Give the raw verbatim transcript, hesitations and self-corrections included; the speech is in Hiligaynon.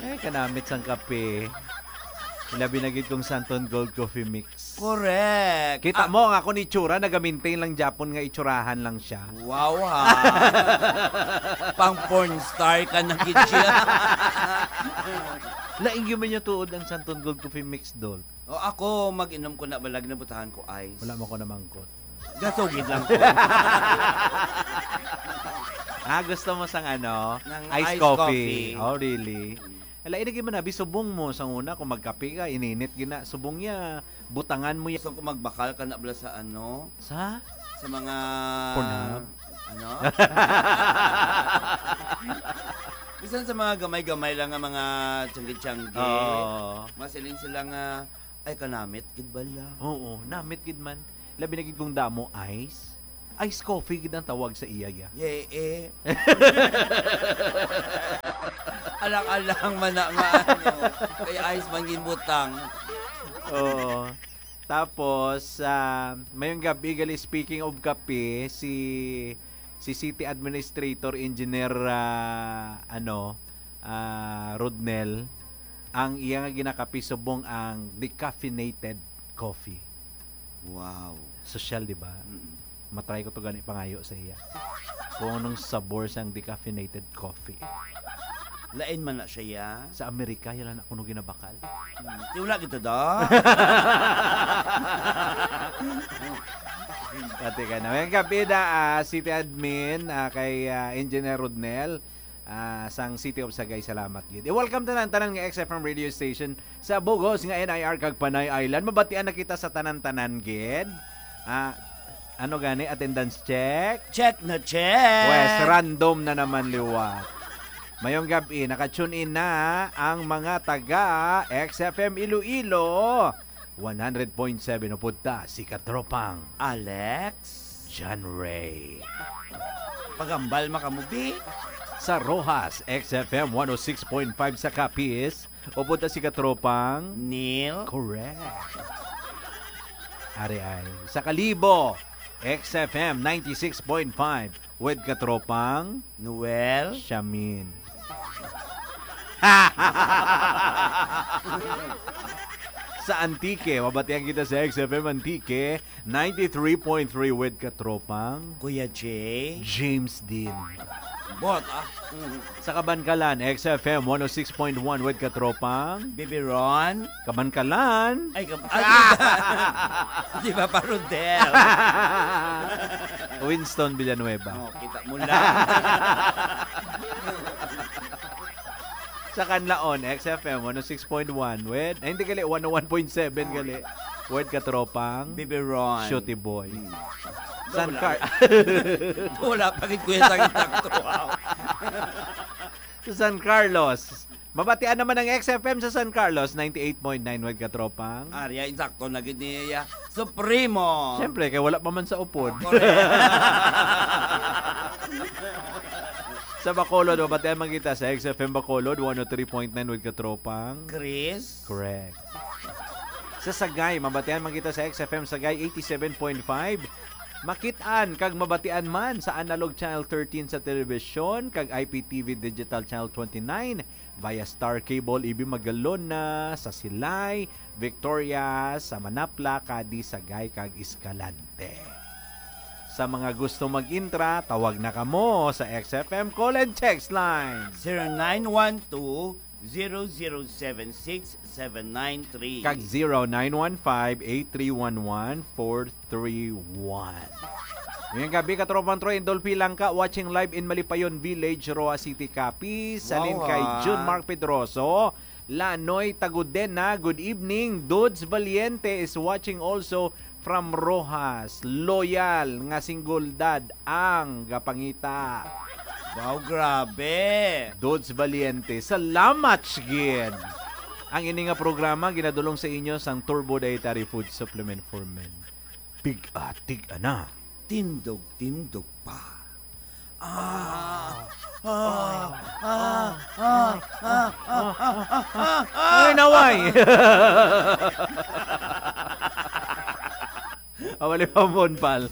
Ay, kanamit sang kape. Labi na gid kung Santon Gold Coffee Mix. Correct. Kita Ah. mo, ang akon itsura, nagamintain lang gyapon nga itsurahan lang siya. Wow, ha? Pang porn star ka na gid siya. Lain gyud man niya tuod ang Santon Gold Coffee Mix, Dol. O, ako, mag-inom ko na, balag na butahan ko ice. Wala mo ko namangkot. Gasugid lang ko. Ah, gusto mo sang ano? Ng Ice iced coffee. coffee. Oh, really? Mm. Ala, ini gyud man abi, subong mo sa una kung magkape ka, ininit gina, subong niya, butangan mo ya- Gusto ko magbakal ka na bala sa ano? Sa? Sa mga Pornhub? Ano? Bisan sa mga gamay-gamay lang nga mga tiyanggi-tiyanggi. Oo. Masiling sila nga, "Ay, kanamit gid bala." Oo, namit gid man. Labi na gid kung damo ice. Ice coffee gid ang tawag sa iya, ya. Yeah, eh. Alang-alang man na nga, ano, kay ice man ginbutang. Oo. Tapos, ah, mayong gabi, gali, speaking of kape, si, si City Administrator Engineer, ah, ano, ah, Rodnel, ang iya nga ginakape subong ang decaffeinated coffee. Wow. Sosyal, di ba? Mm-mm. Matry ko to gani pangayo sa iya. Kung anong sabor sang decaffeinated coffee. Lain man na siya, ya. Sa Amerika, yan lang na kuno ginabakal. Hmm, di wala gito, da. Pati ka na. Ngayong gabi na, ah, City Admin, ah, kay, ah, Engineer Rodnel, ah, sang City of Sagay, salamat gid. I-welcome tanan, tanan nga X F M radio station sa bugos nga N I R kag Panay Island. Mabatian na kita sa tanan-tanan gid. Ah, ano gani? Attendance check? Check na check! Wes, random na naman liwat. Mayong gabi, naka-tune in na ang mga taga X F M Iloilo. One hundred point seven, upod ta si Katropang Alex. John Ray. Pagambal makamubi. Sa Roxas, X F M one oh six point five sa Capiz. Upod ta si Katropang Neil. Correct. Ari ay. Sa Kalibo, X F M ninety-six point five with Katropang Noel. Shamin. Sa Antique, mabatian kita sa X F M Antique, ninety-three point three with Katropang Kuya J. James Dean. Bot, ah. Mm. Sa Kabankalan, X F M one oh six point one with Katropang Bibi Ron. Kabankalan. Ay, kab-, ay, Ah! di ba, pa Rodel? Winston Villanueva. Oh, kita mo lang. Sa Canlaon, X F M one oh six point one with, ay, hindi gali, one oh one point seven gali. With Katropang Bibi Ron. Shooty Boy. Hmm. San Wala. Car- Wala pa gid, kuya, sa takto. Wow. Sa San Carlos, mabatian naman ang X F M sa San Carlos, ninety-eight point nine with Katropang. Ari ay, insakto na gid niya. Supremo. Siyempre, kay wala pa man sa upod. Correct. Sa Bacolod, mabatian man kita sa X F M Bacolod, one oh three point nine with Katropang Chris. Correct. Sa Sagay, mabatian man kita sa X F M Sagay eighty-seven point five. Makit-an kag mabatian man sa Analog Channel thirteen sa telebisyon kag I P T V Digital Channel twenty-nine via Star Cable, Ibi Magalona, sa Silay, Victoria, sa Manapla, Cadiz, Sagay, kag Escalante. Sa mga gusto mag-intra, tawag na kamo sa X F M call and text line. Zero nine one two, zero zero seven six, seven nine three. Kag zero nine one five, eight three one one, four three one. Ngayong gabi, Katropang Troy and Dolphy Langka, watching live in Malipayon Village, Roxas City, Capiz. Halin Wow, kay ha? June Mark Pedroso, Lanoy Tagudena, good evening. Dudes Valiente is watching also from Roxas. Loyal nga single dad ang gapangita. Wow, grabe. Dudes Valiente, salamat gid. Ang ini nga programa ginadulong sa inyo sang Turbo Dietary Food Supplement for Men. Tig-a, tig-a na. Tindog, tindog pa. Ah, ah, ah, ah, ah, ah, ah, ah, ah. Ay, naway. Awali pa mo, pal.